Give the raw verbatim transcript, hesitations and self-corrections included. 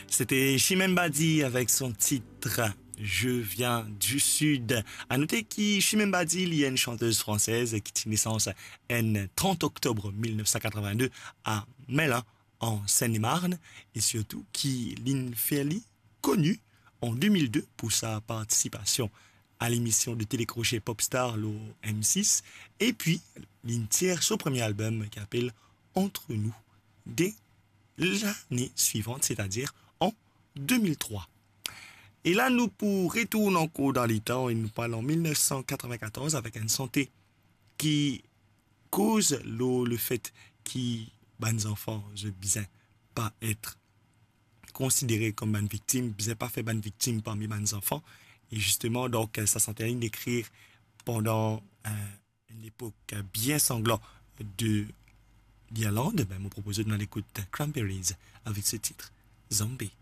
C'était Chimène Badi avec son titre Je viens du Sud. À noter ki Chimène Badi, li enn chantez fransez ki ti nesans enn trant oktob mil nef san katrovin-de a Melun, an Seine-et-Marne, e sirtou ki linn fer li koni an de mil de pou sa partisipasion a lemision de tele kroche Popstar lor M sis, epi linn tir so premie album ki apel Entre nous de lane swivan, setadir an de mil trwa. E la, nou pou retourn ankor dan letan e nou pou al an mil nef san katrovin-katorz avek enn sante ki koz lor lefet ki bann zanfan, zot bizin pa et konsidere kom bann viktim, bizin pa fer bann viktim parmi bann zanfan. E zisteman, donk, sa sante la, linn ekrir pandan, eh, enn lepok bien sanglan de Lirland. Ben, mo propoz nou al ekout Cranberries avek so tit Zombie.